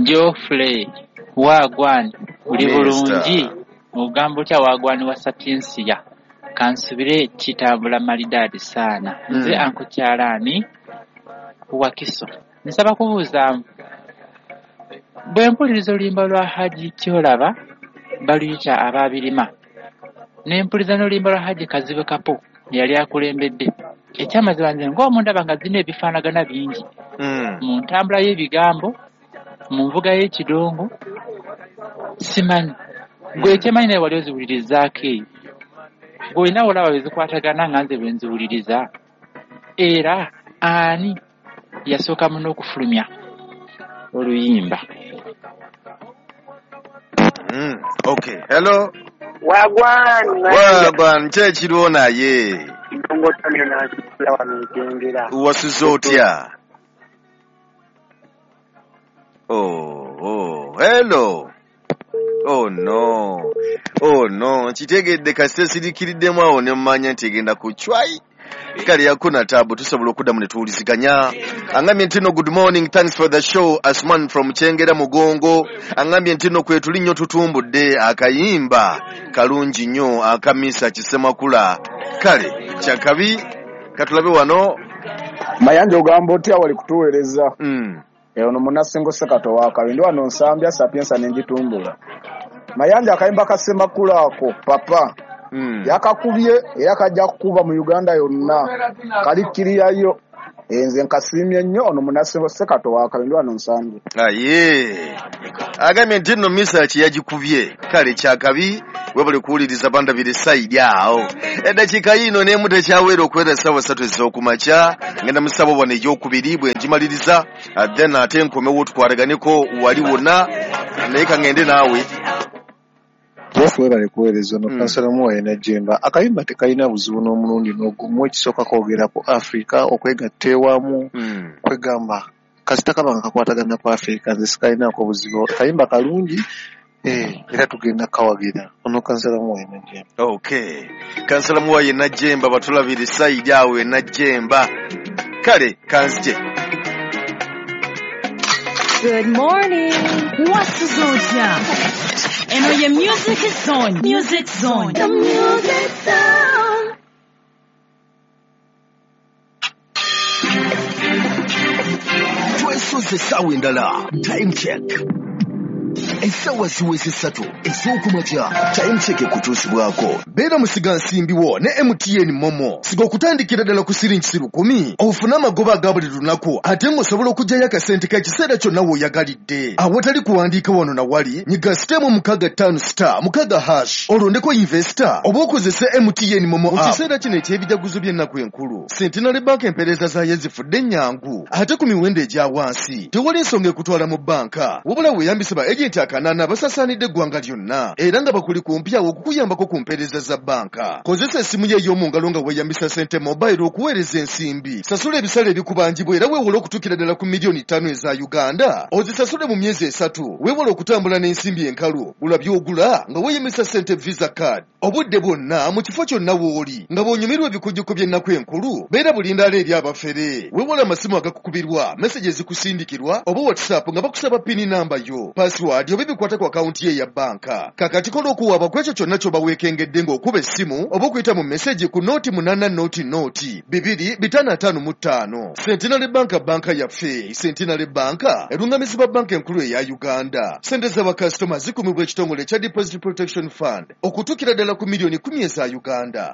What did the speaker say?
Geoffrey wagwan, uli bulungi? Ogamba otya wagwan wa Sapiensia? Kansubire kitambula malidaadi saana. Nze Anko Kyalaani Wakiso. Nsaba kubuuzaamu, bwe mpuliriza oluyimba lwa Haji Kyolaba baluyita Abaabirima, ne mpuliriza n'oluyimba lwa Haji Kazibwe Kapo eyali akulembedde, ekyamazima nze ng'omundaba nga zirina ebifaanagana bingi mu ntambula y'ebigambo, mu nvuga y'ekidongo, simanyi. Gwe ekyemanyi naye wali oziwulirizaako eyo, gwe olina olaba bwe zikwatagana nga nze bwe nziwuliriza. Era ani yasooka muno okufulumya oluyimba? Okay, hello. Wagwan. Wagwan, ki ekiriwo naye? Wasuze otya? Oh, hello. Oh no. Oh no, nkitegedde kasita siriikiriddemu awo ne mmanya nti egenda kucwayi. Kale yakuna tabu tusobola okuddamu ne tuwuliziganya. Angambye nti no good morning, thanks for the show. Asman from Kyengera Mugongo. Angambye nti no kwetuli nnyo tutumbudde akayimba kalungi nnyo akamisa Kisemakula. Kale kyakabi katulabe wano. Mayanja ogamba otya wali kutuweereza? Ono Munnasengo Sekato wakabi ndi wano Nsambya Sapiensa ne ngitumbula. Mayanja akayimba ka Ssemakula ako papa yakakubye era kajja kukuba mu Uganda yonna, kalikkiriyayo. Nze nkasiimye nnyo ono Munnasengo Sekato wakabi ndi wano Nsambya. Aye agambye nti nno Misaki yagikubye. Kale kyakabi webale kuwuliriza bandabire sayidi awo. Eddakiika yiino n'emu tekyawera okuwera essaawa 3 ez'okumakya. Ngenda mu ssabo wano ey'okubiri bwe ngimaliriza, then ate nkomewo tukwataganeko wali wonna, naye ka ngende naawe. Jeff webale kuweereza ono kansala Muwaye Najjemba. Akayimba tekalina buzibu n'omulundi n'ogumu. Ekisooka kwogera ku Africa, okwegatta ewamu, kwegamba kasita kaba nga kakwatagana ku Africa, nze sikalinaako buzibu. Akayimba kalungi, era tugenda kawagira. Ono kansala Muwaye Najjemba. Okay, kansala Muwaye Najjemba batulabire sayidi awo e Najjemba. Kale kanzije. Good morning. What's Zotya? And your music is on. Music Zone. The music zone. Twesoze essaawa endala. Time check. Essaawa ziweze 3 ez'okumakya. Time check ekutuusibwako. Beera musigansimbi wo ne MTN Momo. Siga okutandikira ddala ku siringi 10,000 ofune amagoba aga buli lunaku, ate ng'osobola okuggyayo akasente k'ekiseera kyonna w'oyagalidde. Awatali kuwandiika wano na wali, nyiga *656*6# olondeko investor oba okozese MTN Momo app. Mu kiseera kino eky'ebijaguzo by'ennaku enkulu, Centenary Bank empeereza zaayo zifudde ennyangu ate ku miwendo egya wansi. Tewali nsonga ekutwala mu bbanka, wabula weeyambise ba agenti akanana basasaanidde eggwanga lyonna era nga bakuli kumpi awo okukuyambako ku mpeereza za banka. Kozesa essimu yo ey'omu ngalo nga weeyambisa Sente Mobile okuweereza ensimbi. Sasula ebisale ebikubanjibwa era weewole okutuukira ddala ku miliyoni 5 eza Uganda. Ozisasule mu myezi 3. Weewole okutambula n'ensimbi enkalu. Gula by'ogula nga weeyambisa Sente Visa Card. Obudde bwonna mu kifo kyonna w'oli nga bw'onyumirwa ebikujjuko by'ennaku enkulu, beera bulindaala eri abafere. Weewole amasimu agakukubirwa, meseji ezikusindikirwa oba WhatsApp nga bakusaba pini namba yo, password oba ebikwata ku akawunti ye eya banka. Kakati kola okuwaaba ku ekyo kyonna ky'oba weekengedde ng'okuba essimu oba okuyita mu meseji ku 080 0 2 555. Centenary Bank, banka yaffe. Centenary Bank erungamizibwa banka enkulu eya Uganda. Sente z'abakasitoma zikumibwa ekitongole ekya Deposit Protection Fund okutuukira ddala ku miliyoni 10 eza Uganda.